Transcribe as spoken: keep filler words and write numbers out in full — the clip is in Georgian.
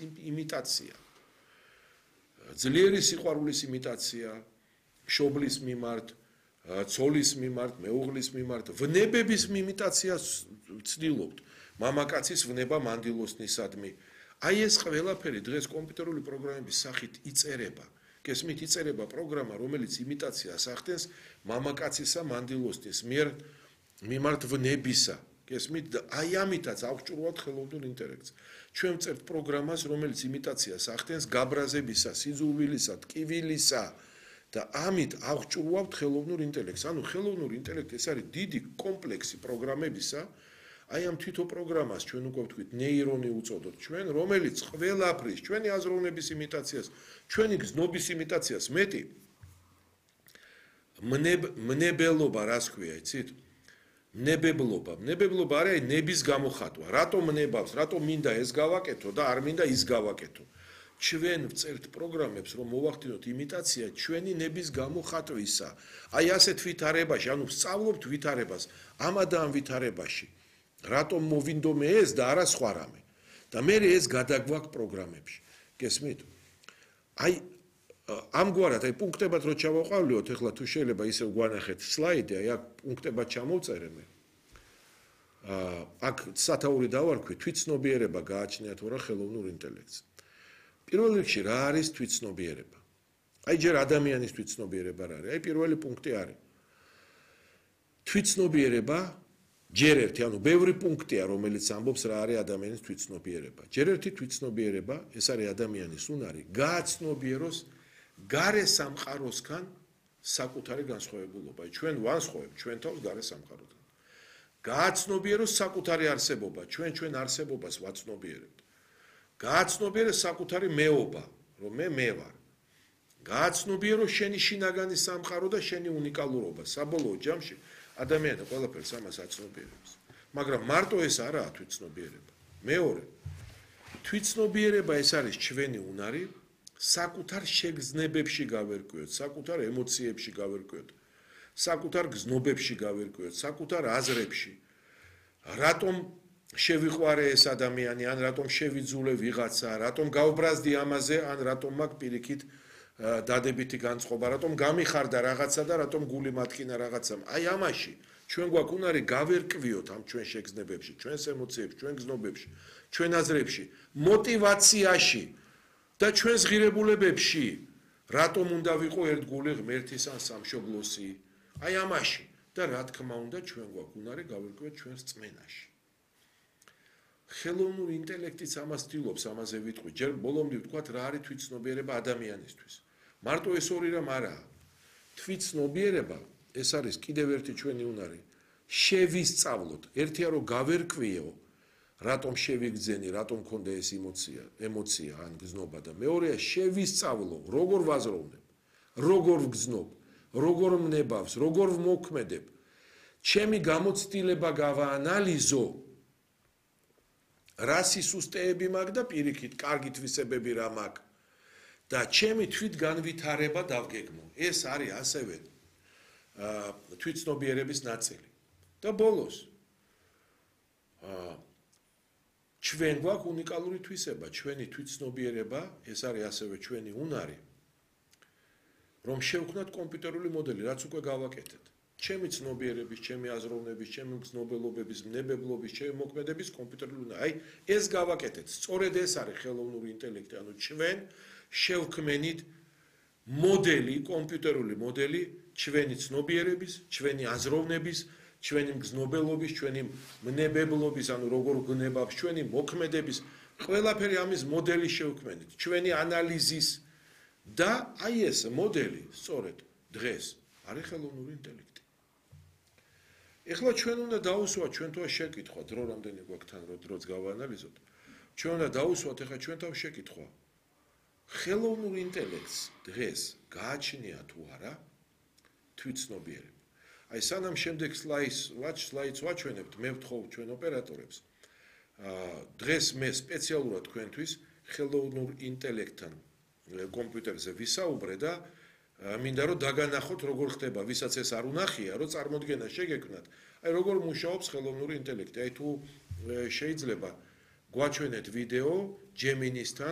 იმიტაცია. ძლიერი სიყვარულის იმიტაცია, მშობლის მიმართ, ცოლის მიმართ, მეუღლის მიმართ, ვნებების იმიტაციას ვცდილობთ. მამაკაცის ვნება მანდილოსნისადმი. აი ეს ყველაფერი დღეს კომპიუტერული პროგრამების სახით იწერება. გესმით, იწერება პროგრამა, რომელიც იმიტაციას ახდენს მამაკაცისა მანდილოსნის მიერ მიმართ ვნებისა. გესმით, აი ამიტაც აღჭურვავთ ხელოვნურ ინტელექტს. ჩვენ ვწერთ პროგრამას, რომელიც იმიტაციას ახდენს გაბრაზებისა, სიძულვილისა, ტკივილისა და ამით აღჭურვავთ ხელოვნურ ინტელექტს. ანუ ხელოვნურ ინტელექტი ეს არის დიდი კომპლექსი პროგრამებისა. აი ამ თვითო პროგრამას ჩვენ უკვე ვთქვით ნეირონი უწოდოთ ჩვენ, რომელიც ყველაფრის, ჩვენი აზროვნების იმიტაციას, ჩვენი გზნობის იმიტაციას მეტი მნებელობა რას ქვია, იცით? მნებებლობა. მნებებლობა არის ნების გამოხატვა. რატომ ნებავს, რატომ მინდა ეს გავაკეთო და არ მინდა ის გავაკეთო. ჩვენ ვწერთ პროგრამებს, რომ მოვახდინოთ იმიტაცია ჩვენი ნების გამოხატვისა. აი ასეთ ვითარებაში, ანუ ვსწავლობთ ვითარებას, ამა და ამ ვითარებაში. რატომ მოვინდომე ეს და არა სხვა რამე. და მე ეს გადაგვაქვს პროგრამებში. გესმით? აი ამგვარად, აი პუნქტებად რო ჩავაყავლიოთ, ეხლა თუ შეიძლება ისევ გვანახეთ სლაიდი, აი აქ პუნქტებად ჩამოვწერე მე. აა აქ სათაური დავარქვი, თვითცნობიერება გააჩნიათ ვარა ხელოვნურ ინტელექტს. პირველ რიგში რა არის თვითცნობიერება? აი ჯერ ადამიანის თვითცნობიერება რა არის? აი პირველი პუნქტი არის. თვითცნობიერება ჯერ ერთი, ანუ ბევრი პუნქტია, რომელიც ამბობს რა არის ადამიანის თვითცნობიერება. ჯერ ერთი თვითცნობიერება, ეს არის ადამიანის უნარი, გააცნობიეროს გარე სამყაროსგან საკუთარი განსხვავებულობა. ჩვენ ვანსხვავებთ ჩვენ თავს გარე სამყაროდან. გააცნობიეროს საკუთარი არსებობა, ჩვენ ჩვენ არსებობას ვაცნობიერებთ. გააცნობიეროს საკუთარი მეობა, რომ მე მე ვარ. გააცნობიეროს შენი შინაგანი სამყარო და შენი უნიკალურობა. საბოლოო ჯამში ადამიანი ყველაფერს ამას აცნობიერებს. მაგრამ მარტო ეს არაა თვითცნობიერება. მეორე, თვითცნობიერება ეს არის ჩვენი უნარი, საკუთარ შეგრძნებებში გავერკვიოთ, საკუთარ ემოციებში გავერკვიოთ, საკუთარ გზნობებში გავერკვიოთ, საკუთარ აზრებში. რატომ შევიყვარე ეს ადამიანი, ან რატომ შევიძულე ვიღაცა, რატომ გავბრაზდი ამაზე, ან რატომ მაქვს პირიქით დადებითი განწყობა, რატომ გამიხარდა რაღაცა და რატომ გული მათქინა რაღაცამ. აი ამაში ჩვენ გვაქვს უნარი გავერკვიოთ ამ ჩვენ შეგრძნებებში, ჩვენს ემოციებში, ჩვენ გზნობებში, ჩვენ აზრებში, мотиваციაში და ჩვენს ღირებულებებში, რატომ უნდა ვიყო ერთგული ღმერთის ან სამშობლოსი. აი ამაში და რა თქმა უნდა ჩვენ გვაქვს უნარი გავერკვიოთ ჩვენს წმენაში. ხელოვნურ ინტელექტიც ამას ცდილობს, ამაზე ვიტყვი. ჯერ ბოლომდე ვთქვათ რა არის თვითცნობიერება ადამიანისთვის. მარტო ეს ორი რამ არაა. თვითცნობიერება ეს არის კიდევ ერთი ჩვენი უნარი. შევისწავლოთ, ერთია რომ გავერკვიო, რატომ შევიგძენი, რატომ მქონდა ეს ემოცია, ემოცია ან გზნობა და მეორეა შევისწავლო, როგორ ვაზროვნებ, როგორ ვგზნობ, როგორ მნებავს, როგორ ვმოქმედებ. ჩემი გამოცდილება გავაანალიზო. რა სისუსტეები მაქვს და პირიქით კარგი თვისებები რა მაქვს და ჩემი თვითგანვითარება დავგეგმო. ეს არის ასევე თვითცნობიერების ნაწილი. და ბოლოს ჩვენ გვაქვს უნიკალური თვისება, ჩვენი თვითცნობიერება, ეს არის ასევე ჩვენი უნარი, რომ შევქმნათ კომპიუტერული მოდელი, რაც უკვე გავაკეთეთ. ჩემი ცნობიერების, ჩემი აზროვნების, ჩემი გზნობელობების, მნებებლობის, ჩემი მოქმედების კომპიუტერული უნარი. აი, ეს გავაკეთეთ. სწორედ ეს არის ხელოვნური ინტელექტი, ანუ ჩვენ შევქმნით მოდელი, კომპიუტერული მოდელი ჩვენი ცნობიერების, ჩვენი აზროვნების, ჩვენი გზნობელობის, ჩვენი მნებებლობის, ანუ როგორ გნებავს, ჩვენი მოქმედების, ყველაფერი ამის მოდელი შევქმნით, ჩვენი ანალიზის და აი ეს მოდელი სწორედ დღეს არის ხელოვნური ინტელექტი. ეხლა ჩვენ უნდა დაუსვათ ჩვენ თავს შეკითხვა, დრო რამდენი გვაქვს თან, რომ დროც გავაანალიზოთ. ჩვენ უნდა დაუსვათ ეხლა ჩვენ თავს შეკითხვა. ხელოვნურ ინტელექტს დღეს გააჩნია თუ არა თვითცნობიერება. აი სანამ შემდეგ სლაიდს ვაჩ სლაიდს ვაჩვენებთ, მე ვთხოვ ჩვენ ოპერატორებს. დღეს მე სპეციალურად თქვენთვის ხელოვნურ ინტელექტთან კომპიუტერზე ვისაუბრე და მინდა რომ დაგანახოთ როგორ ხდება, ვისაც ეს არ უნახია, რომ წარმოდგენა შეგექმნათ. აი როგორ მუშაობს ხელოვნური ინტელექტი. აი თუ შეიძლება გვაჩვენეთ ვიდეო ჯემინისთან